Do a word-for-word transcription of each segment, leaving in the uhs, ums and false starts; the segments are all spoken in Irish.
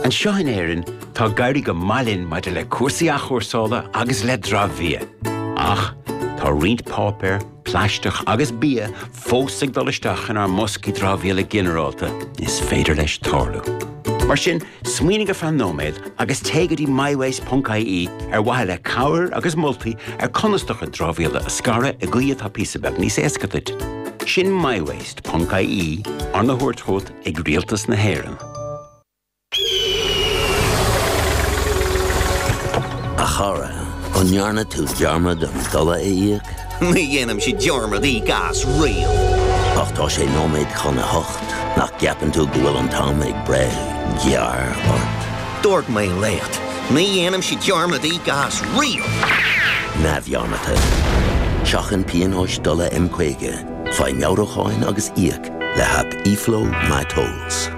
Anseo in Éirinn tá ag éirí go maith linn maidir le cúrsaí athchúrsála agus le dramhbhia. Ach tá roinnt páipéar, plaisteach agus bia fós ag dul isteach inár mboscaí dramhaíola ginearálta is féidir leis tarlú. Mar sin, smaoinigh ar feadh nóiméad agus téigh go dtí mywaste.ie ar mhaithe le cabhair agus moltaí ar conas do chuid dramhaíola a scaradh i gcaoi atá píosa beag níos éasca duit. Sin mywaste.ie arna thabhairt chugat ag Rialtas na hÉireann. A chara, an ndearna tú dearmad an dola a íoc? Ní dhéanaimse dearmad íoc as riamh. Ach tá sé nóiméad chun a hocht nach gceapann tú go bhfuil an t-am ag breith gearr ort. Dúirt mé leat, ní dhéanaimse dearmad íoc as riamh. Neamhdhearmadta. Seachain pionóis dola M caoga, faigh meabhrúcháin agus íoc le haip eFlow MyTolls.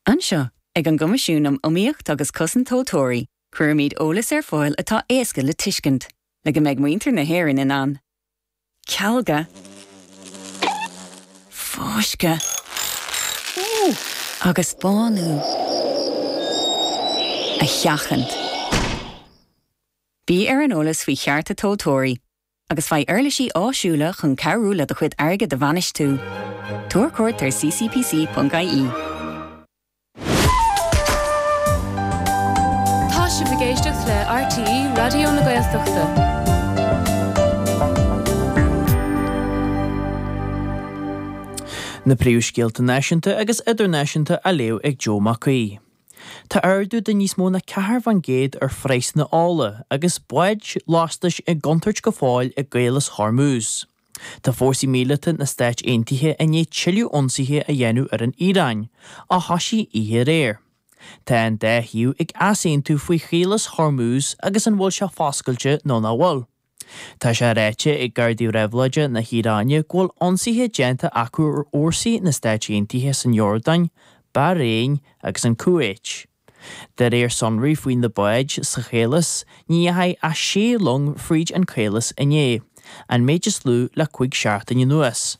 Anseo ag an gCoimisiún um Iomaíocht agus Cosaint Tomhaltóirí, cuirimid eolas ar fáil atá éasca le tuiscint, le go mbeidh muintir na hÉireann in ann. Cealga, fáisceadh agus bánú a sheachaint. Bí ar an eolas faoi chearta tomhaltóirí, agus faigh uirlisí áisiúla chun cabhrú le do chuid airgid a bhainistiú. Tabhair cuairt ar ccpc.ie. Tá sibh ag éisteacht le RTÉ Raidió na Gaeltachta. Na príomhscéalta náisiúnta agus idirnáisiúnta á léamh ag Joe Mac Aoidh. Tá ardú de níos mó ná ceathair faoin gcéad ar phraghsanna ola agus báid lastais i gcontúirt go fóill i gCaolas Hormuz. Tá fórsaí míleata na Stáit Aontaithe i ndiaidh tuilleadh ionsaithe a dhéanamh ar an Iaráin, a thosaigh oíche aréir. Tá an dá thaobh ag easaontú faoi Chaolas Hormuz agus an bhfuil sé foscailte nó nach bhfuil. Tá sé ráite ag Gardaí Réabhlóide na hIaráine go bhfuil ionsaithe déanta acu ar fhórsaí na Stáit Aontaithe san Iordáin, Bairéin agus an Cúwait. De réir sonraí faoi na báid sa chaolas, ní dheachaigh ach sé long fríd an chaolas inné, an méid is lú le cúig seachtaine anuas.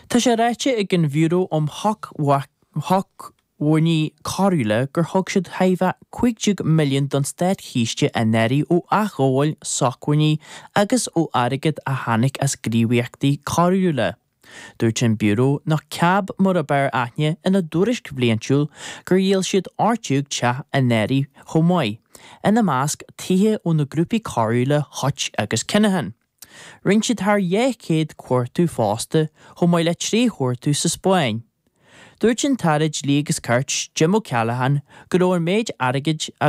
Tá sé ráite ag an Bhiúró um Shócmhainní Coiriúla gur thug siad thaobh cúig déag milliún don státchiste anuraidh ó athghabháil sócmhainní agus ó airgead a tháinig as gníomhaíochtaí coiriúla. Dúirt an Biúró nach CAB mar ab fhearr aithne ina dtuairisc bhliantúil gur dhíol siad ocht déag teach anuraidh chomh maith, ina measc tithe ó na grúpaí coiriúla Hutch agus Kinahan. Rinne siad thar dhá chéad cuartú fosta chomh maith le trí chuartú sa Spáinn. Dúirt an tAire Dlí agus Cirt, Jim O'Callaghan, go raibh an méid airgid a